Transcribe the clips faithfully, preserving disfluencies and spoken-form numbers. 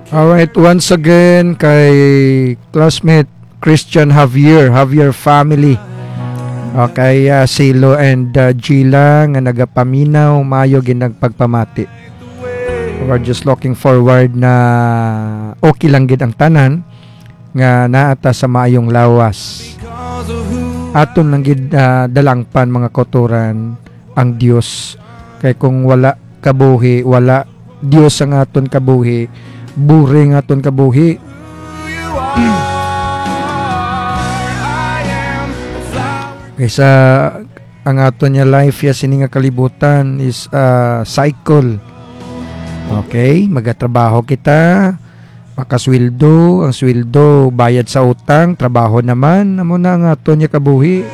Alright, once again kay classmate Christian Javier, Javier family. Okay, uh, Silo and uh, Gila nga nagapaminaw, maayo gid nagpagpamati. We're just looking forward na okay lang gid ang tanan nga naata sa maayong lawas. Aton lang gid uh, dalangpan mga kauturan ang Dios. Kay kung wala kabuhi, wala Dios ang aton kabuhi, boring aton kabuhi. Kaysa ang aton nga life ya sini nga kalibutan is a cycle. Okay, magatrabaho kita, makasweldo, ang sweldo bayad sa utang, trabaho naman, amo na ang aton nga kabuhi.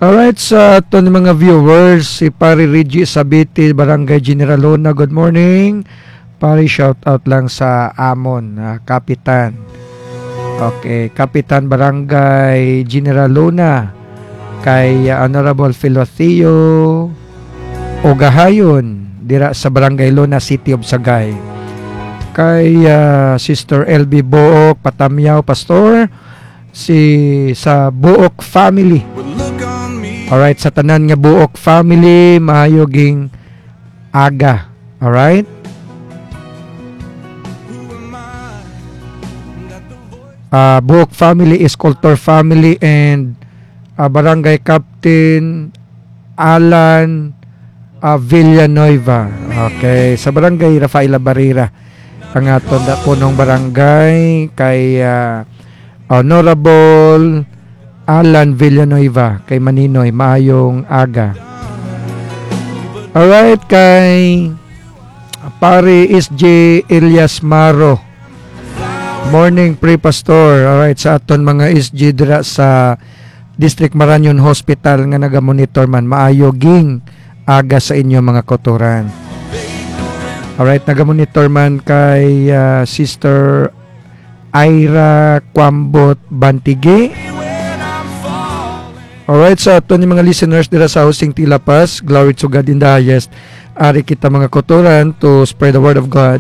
Alright, sa aton mga viewers, si Pare Reggie Sabiti, Barangay General Luna, good morning. Pare, shout out lang sa amon, ah, Kapitan. Okay, Kapitan Barangay General Luna, kay, ah, Honorable Filoteo Ogahayon, dira sa Barangay Luna, City of Sagay. Kay, ah, Sister L B Book Patamyaw, Pastor, si sa Buok family. Alright, sa tanan nga Buok family, maayog ing aga. Alright? Ah, Buok family, Escultor family, and ah, Barangay Captain Alan ah, Villanueva. Okay, sa Barangay Rafaela Barrera. Ang aton da punong barangay kay ah, Honorable Alan Villanueva kay Maninoy. Maayong aga. Alright, kay Pare S J Elias Maro. Morning, Pre Pastor. Alright, sa aton mga S J dira sa District Marañon Hospital nga nagamonitor man, maayo ging aga sa inyo mga kauturan. Alright, nagamonitor man kay ah, Sister Ira Kwambot Bantigi. Alright, sa aton ni mga listeners dira sa Hosting Tilapas, glory to God in the highest. Ari kita mga kauturan to spread the word of God.